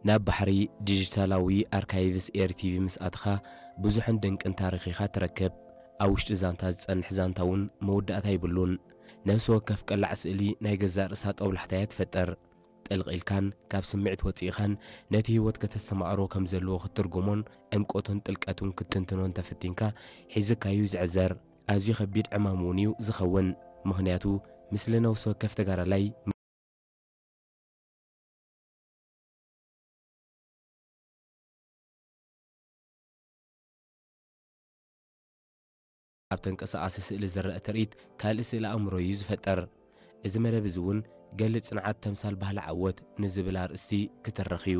ናብ ባሕሪ ዲጂታላዊ ኣርካይቭስ ኤርቲቪ ምስ ኣትኻ ብዙሕን ድንቅን ታሪኽ ኢኻ ትረክብ። ኣብ ውሽጢ ዛንታ ዝጸንሕ ዛንታ እውን መወዳእታ ይብሉን። ነፍሲ ወከፍ ቀላዕ ስእሊ ናይ ገዛእ ርእሳ ጦብላሕታ እያ ትፈጥር። ጥልቕ ኢልካን ካብ ስምዒት ወጺእኻን ነቲ ህይወት ከተስተማቕሮ ከም ዘለዎ ክትትርጉሞን ዕምቆቱን ጥልቀቱን ክትትንትኖን ተፈቲንካ ሒዝካዩ ዝዕዘር። ኣዝዩ ከቢድ ዕማም እውን እዩ ዝኸውን። ምኽንያቱ፣ ምስሊ ነፍሲ ወከፍ ተጋዳላይ ኣብ ተንቀሳቓሲ ስእሊ ዝረአ ትርኢት ካልእ ስእሊ ኣእምሮ እዩ ዝፈጥር። እዚ መደብ እዚ እውን ገሊ ጽንዓት ተምሳል ባህሊ ዓወት ንዝብል ኣርእስቲ ክትረኽ እዩ።